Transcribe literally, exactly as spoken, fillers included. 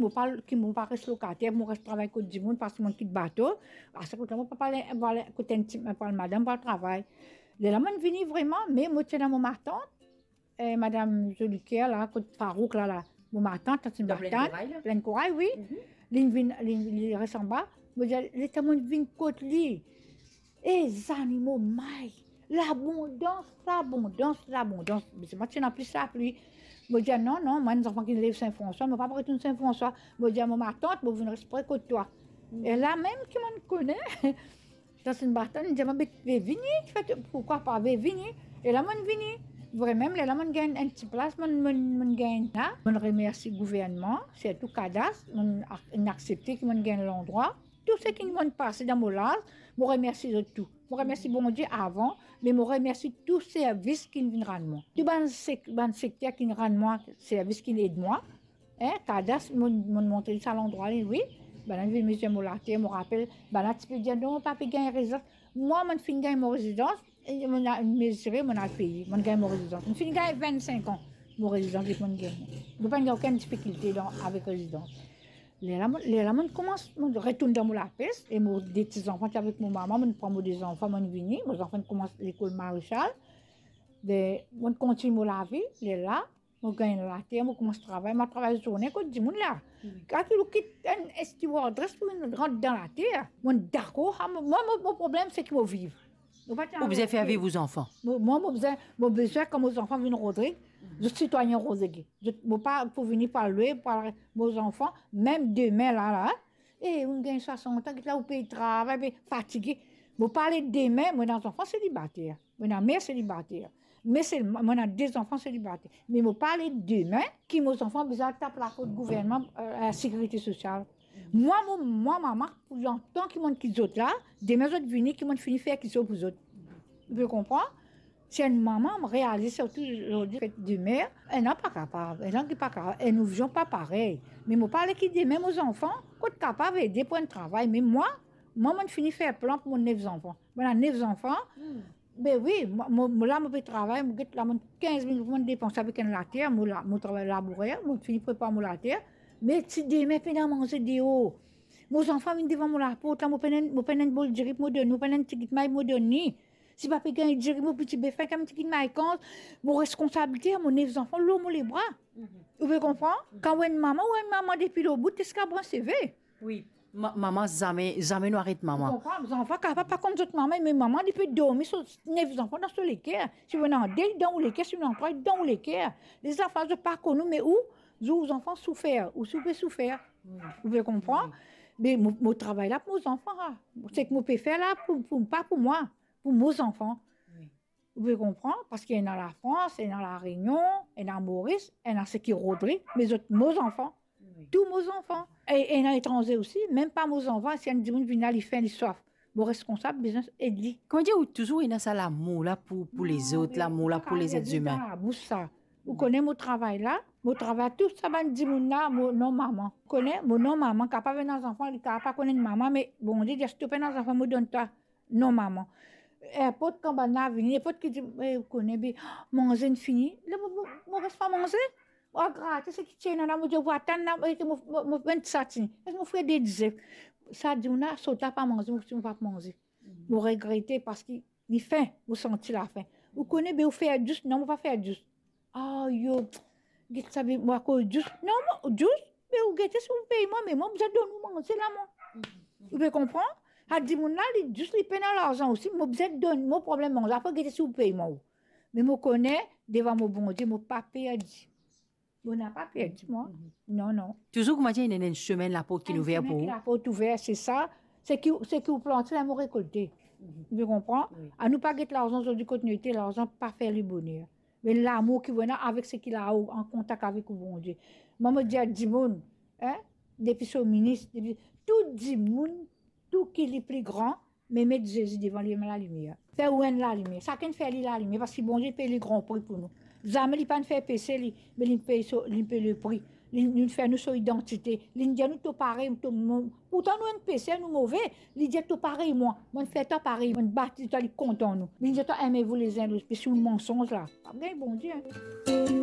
Mo pa, ki mo pa res lokater, mo res travay kot dimoun, parski mo kit bato. A sa kot la, mo pa pral, pral kot enn ti, pral madam, pral travay. Lerla mo'nn vini vreman, me mo ti ena mo matant, eh, madam Zoliker la, kot Farouk la, la. Mo matant, Tantinn Martine, Plaine Corail, wi. Li'nn vinn, li, li res anba. Mo dir, letan mo'nn vinn kot li, e zanimo may, labondans, labondans, labondans. Me se mwa ti ena plis lapli. Mo dir, non, non, mwa enn zanfan ki lev Sin Franswa, mo pa pou retourn Sin Franswa. Mo dir mo matant, mo vinn res pre kot twa. E la mem ki mo'nn kone, Tantinn Martine, li dir mwa, be, be vini, kifer, poukwa pa, be vini. E la mo'nn vini. Vremem, lerla mo'nn gagn enn ti plas, mo'nn, mo'nn, mo'nn gagn la. Mo'nn remersi gouvernman, sirtou Kadas, mo'nn ak-, inn aksepte ki mo'nn gagn landrwa. Tou seki mo'nn pase dan mo laz, mo remersi zot tou. Mo remersi Bondie avan, me mo remersi tou servis ki'nn vinn rann mwa. Tou bann sek-, bann sekter ki'nn rann mwa servis, ki'nn ed mwa. Hein, Kadas, mo'nn, mo'nn montre li sa landrwa li, wi. Bann-la vinn mezir mo later, mo rapel, bann-la ti pe dir, "Non, pa pe gagn rezidans." Mwa, mo'nn finn gagn mo rezidans, e mo'nn al mezire, mo'nn al peye, mo'nn gagn mo rezidans. Mo'nn finn gagn vennsenk an mo rezidans, depi mo'nn gagn. Mo pa'nn gagn okenn difikilte dan, avek rezidans. Lerla mo, lerla mo'nn koumans, mo'nn retourn dan mo lapes, e mo de ti zanfan ti avek mo mama, mo'nn pran mo de zanfan, mo'nn vini, mo zanfan koumans lekol Marechal. Be, mo'nn kontign mo lavi, lerla, mo gagn later, mo koumans travay, mo travay zourne kot dimoun la. Wi. Kan ou kit enn stewardess pou vinn rant dan later, mo'nn dakor, ha, mo, mo, mo, mo problem se ki mo viv. Mo pa ti... Ou bizin fer viv ou zanfan. Mo, mo, mo bizin, mo bizin kan mo zanfan vinn Rodrig, zot sitwayin Rodrig. Zot, mo pa pou vini pou al lwe, pou al, mo zanfan, mem demin la, la, e, ou gagn swasant an, get la ou pe travay, pe fatige. Mo pale demin, mo ena zanfan selibater. Mo ena mer selibater. Me selman, mo ena de zanfan selibater. Me mo pale demin ki mo zanfan bizin al tap laport gouvernman, eh, lasekirite sosial. Mwa, mo, mwa, mama, pou lontan ki mo'nn kit zot la, demin zot vini, ki mo'nn fini fer kisoz pou zot. Ou pe konpran? Si enn mama, mo realize sirtou zordi, fet de mer, ena pa kapav, ena ki pa kapav, enn vizion pa parey. Me mo pale ki demin mo zanfan, kot kapav ede pou enn travay. Me mwa, mwa, mo'nn fini fer plan pou mo nef zanfan. Mo ena nef zanfan, hmm. Be wi, mo, mo, mo la, mo pe travay, mo get la, mo kinz mil, mo depanse avek enn later, mo la, mo travay labourer, mo fini prepar mo later. Me ti demin pena manze deor. Mo zanfan vinn devan mo laport la, mo pena, mo pena enn bol diri pou mo donn, mo pena enn tigit may pou mo donn li. Si pa pe gagn diri, mo piti be fin, kan mo tigit may kan, mo responsabilite, mo nef zanfan lor mo lebra. Mhm. Ou pe konpran? Mhm. Kan ou enn mama, ou enn mama depi lor bout ziska brin seve. Wi. Ma-, mama, zame, zame nou aret mama. Ou konpran? Zanfan kapav pa konn zot mama, me mama, li pe dormi so nef zanfan dan so leker. Si ou ena de, li dan ou leker, si ou ena trwa, li dan ou leker. Lezot zanfan, zot pa konn ou, me ou, zot zanfan soufer, ou si ou pe soufer. Wi. Ou pe konpran? Wi. Me mo, mo travay la pou mo zanfan, ha. Seki mo pe fer la pou, pou, pa pou mwa, pou mo zanfan. Wi. Ou pe konpran? Parski ena Lafrans, ena Lareunion, ena Moris, ena seki Rodrig, me zot mo zanfan. Wi. Tou mo zanfan. E, e ena etranze osi, mem pa mo zanfan, si enn dimoun vinn la, li fin, li swaf. Mo responsab, bizin ed li. Koumadir ou touzour ena sa lamour la pou, pou lezot, lamour la pou lezet imin? Non, me ou pa kapav dir dan labous sa. Ou kone mo travay la, mo travay tou sa bann dimoun la, mo, non mama. Ou kone, mo non mama, kapav ena zanfan, li kapav pa konn enn mama, me Bondie dir, si to pena zanfan, mo donn twa non mama. Ninport kan bann la vini, ninport ki dir, "Eh, ou kone, be, manze inn fini." La, mo, mo, mo res pa manze. Mo al grate seki ti ena la, mo dir, "Ou atann la, mo, mo, mo, mo pran ti satini." Mo fre de dizef. Sa dimoun la, sot la pa manze, mo, mo pa manze. Mo regrete parski li fin, mo santi lafin. Ou kone, be, ou fer dous, non, mo pa fer dous. Ayo, get sa, be, mo akoz dous. Non, mo, dous, be, ou gete si ou pey mwa, me mwa, mo bizin donn ou manze la, mwa. Ou pe konpran? Sa dimoun la, li dous, li pena larzan osi, mo bizin donn, mo problem manze, apre gete si ou pey mwa ou. Me mo kone, devan mo Bondie, mo pa perdi. Mo napa perdi, mwa. Mhm. Non, non. Touzour koumadir ena enn semin laport ki'nn ouver pou ou. Enn semin ki laport ouver, se sa. Seki, seki ou plante la, mo rekolte. Mhm. Ou pe konpran? Wi. Anou pa get larzan zordi kot nou ete, larzan pa fer leboner. Me lamour ki ou ena avek seki la ou an kontak avek ou Bondie. Mwa, mo dir dimoun, hein, depi so minis, depi tou dimoun, tou ki li pli gran, me met Zezi devan li, lalimier. Fer ou enn lalimier. Sakenn fer li lalimier, parski Bondie pey li gran pri pou nou. Zame li pa'nn fer pese li, me li pey so, li pey lepri. Li, li fer nou so idantite. Li dir nou to parey, to mo-, pourtan nou enn peser, nou move. Li dir to parey mwa. Mo'nn fer twa parey, mo'nn batiz twa, li kontan nou. Li dir twa aimez-vous les uns les autres, me si ou mansonz la, pa gagn Bondie, hein.